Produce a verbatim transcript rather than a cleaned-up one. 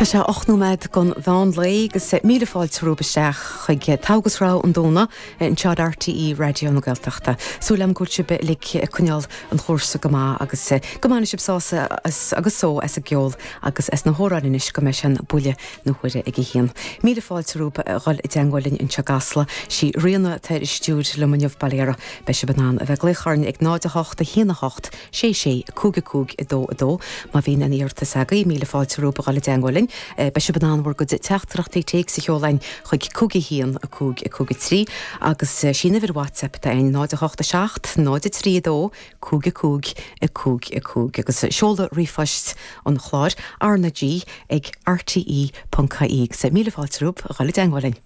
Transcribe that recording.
Tá sé ocht nóiméad don mheán lae agus míle fáilte romhaibh isteach chuig Togha agus Rogha an Domhnaigh anseo ar RTÉ Raidió na Gaeltachta. Súil agam go bhfuil sibh uilig ag coinneáil an chúrsa go maith agus go mbainfidh sibh sásamh agus só as an gceol agus as na hamhráin anois go mbeidh sé buille na huaire ag a haon. Míle fáilte romhaibh a dhul i dteagmháil linn anseo i gCasla sí Ríona atá ar an stiúir liom inniu bail uirthi. Beidh sibh in ann a bheith ag glaoch orainn ag náid a hocht a haon a hocht sé sé cúig a cúig a dó a dó má bhíonn aon iarratas agaibh míle fáilte romhaibh a dhul i dteagmháil linn. Beidh sibh in ann bhur gcuid teachtaireachtaí téacs a sheoladh chuig cúig a haon a cúig a cúig a trí agus sin uimhir WhatsApp atá ann náid a hocht a seacht náid a trí a dó cúig a cúig a cúig a cúig agus seoladh ríomhphoist an chláir R na G ag RTE.ie agus míle fáilte romhaibh a dhul i dteagmháil linn.